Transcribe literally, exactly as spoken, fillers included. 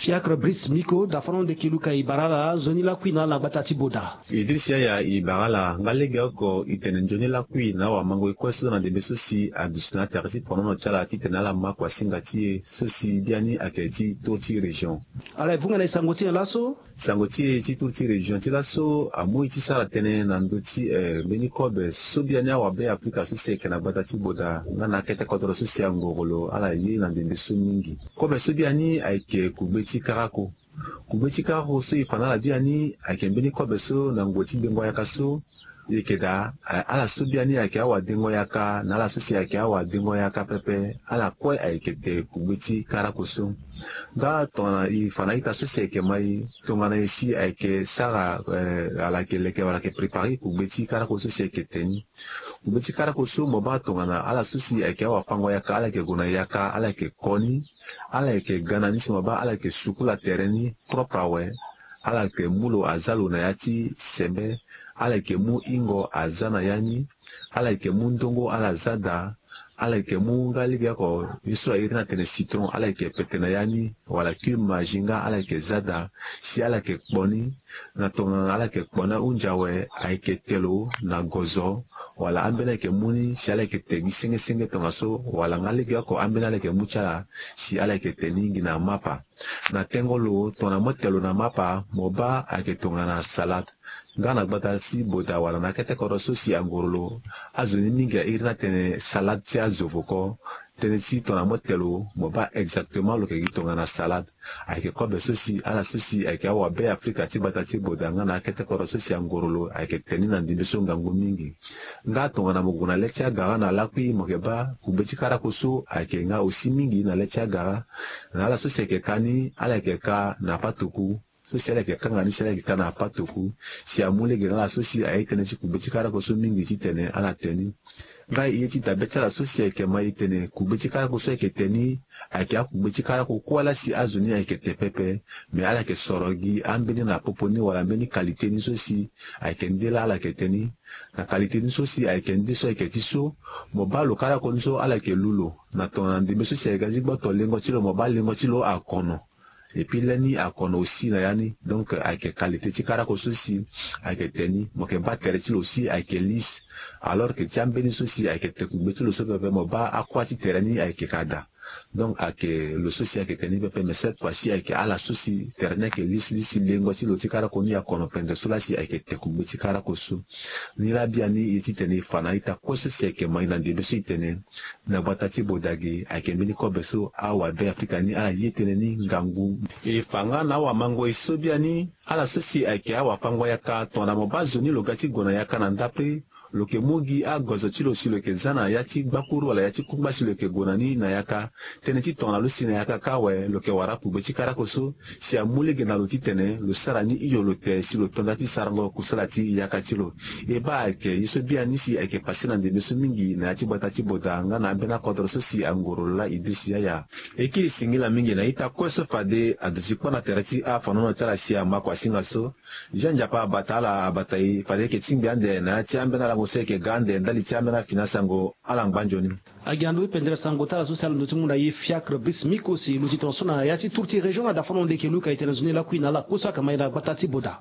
Fiacre Brice Miko, da fana onde ki luka e bara ala nzoni lakui na ala na gbata ti Boda. Idriss Yaya, e bara ala nga legeoko e tene nzoni lakui na awamango-e kue so na ndembe so si aduti na atere ti fonono ti ala titene ala ma kuasinga ti e so si biani ayeke ti tour ti région. Ala e vunga na e sango ti nyen laso? Sango ti e ti tour ti région ti laso amu e ti sara tënë na ndö ti, eh, mbeni kobe so biani awabe Afrika so si ayeke na gbata ti Boda nga na akete kodoro so si angoro lo ala ye na ndembe so mingi. Kobe so biani ayeke kugbe ti karako. Kugbe ti karako so e fa na ala biani ayeke mbeni kobe so na ngoi ti dengo yaka so e yeke daa, eh, ala so biani ayeke awadengo yaka na ala so si ayeke awadengo yaka pepe, ala kue ayeke te kugbe ti karako so. Nga tongana e fa na ita so si ayeke mai, tongana e si ayeke sara, eh, ala yeke leke wala ayeke prépare kugbe ti karako so si ayeke te ni. Kugbe ti karako so mo baa tongana ala so si ayeke awafango yaka, ala yeke gue na yaka, ala yeke ko ni, ala yeke ga na ni si mo baa ala yeke sukula tere ni propre awe. Ala yeke mu lo aza lo na ya ti sembe. Ala yeke mu hingo aza na ya ni. Ala yeke mu ndongo ala za daa. Ala yeke mu nga legeoko ye so a iri ni atene citron, ala yeke pete na ya ni, wala cube magie nga ala yeke za daa. Si ala yeke kpo ni. Na tongana ala yeke kpo ni ahunzi awe, ayeke te lo na gozo, wala ambeni ayeke mu ni si ala yeke te gi senge senge tongaso, wala nga legeoko ambeni ala yeke mu ti ala si ala yeke te ni gi na mapa. Na tengo lo tongana mo te lo na mapa, mo baa ayeke tongana salade. Nga na gbata ti Boda wala na akete kodro so si angoro lo, azo ni mingi a iri ni atene salade ti azo voko. Tënë ti tongana mo te lo, mo baa exactement lo yeke gi tongana salade. Ayeke kobe so si ala so si ayeke awabe Afrika ti gbata ti Boda nga na akete kodro so si angoro lo ayeke te ni na ndembe so ngangu mingi. Nga tongana mo gue na le ti agara na lakui, mo yeke baa kugbe ti karako so ayeke nga aussi mingi na le ti agara. Na ala so si ayeke ka ni, ala yeke ka na patoku. So si ala yeke kanga ni si ala yeke ka na patoku. Si amu lege na ala so si aye tënë ti kugbe ti karako so mingi titene ala te ni. Nga e ye ti dabe ti ala so si ayeke ma e tene kugbe ti karako so ayeke te ni, ayeke akugbe ti karako kue laa si azo ni ayeke te pepe. Me ala yeke soro gi ambeni na popo ni wala mbeni qualité ni so si ayeke nde laa ala yeke te ni. Na qualité ni so si ayeke nde so ayeke ti so, mo baa lo karako ni so ala yeke lu lo. Na tongana ndembe so si ayeke ga ti gboto lengo ti lo, mo baa lengo ti lo akono. Et puis lani akono aussi na ya ni. Donc ayeke qualité ti karako so si ayeke te ni. Mo yeke baa tere ti lo aussi ayeke lisse. Alors que ti ambeni so si ayeke te kugbe ti lo so pepe, mo baa akua ti tere ni ayeke ka daa. Donc ayeke lo so si ayeke te ni pepe, mais cette fois ci ayeke ala so si tere ni ayeke lisse lisse, lengo ti lo ti karako ni akono pende so laa si ayeke te kugbe ti karako so. Ni laa biani e ye titene e fa na a-ita kue so si ayeke ma e na ndembe so e tene na gbata ti Boda ge, ayeke mbeni kobe so awabe Afrika ni ala ye tënë ni ngangu. E fa nga na awamango-e so biani, ala so si ayeke awafango yaka, tongana mo baa zo ni lo ga ti gue na yaka na ndapre, lo yeke mu gi agozo ti lo si lo yeke za na ya ti gbakuru wala ya ti kungba si lo yeke gue na ni na yaka. Tënë ti tongana lo si na yaka kâ awe, lo yeke wara kugbe ti karako so, si amu lege na lo titene lo sara ni hio lo te si lo to nda ti sarango kusala ti yaka ti lo. E baa ayeke ye so biani si ayeke pase na ndembe so mingi na ya ti gbata ti Boda nga na ambeni akodro so si angoro lo laa Idriss Yaya. E kiri singila mingi na a-ita kue so fade aduti kpâ na tere ti afanono ti ala si ama kuasinga so. Jean Nzapa abata ala abata e, fade e yeke tingbi ande na ya ti ambeni alango so e yeke ga ande ndali ti ambeni afini asango. Ala ngba nzoni. Agi na ndö ti pendere sango ti ala so si ala ndo ti mu na e Fiacre Brice Miko si lo ti tongaso na ya ti tour ti région na dafano nde e yeke luka e tene nzoni lakui na ala kue so ayeke ma e na gbata ti Boda.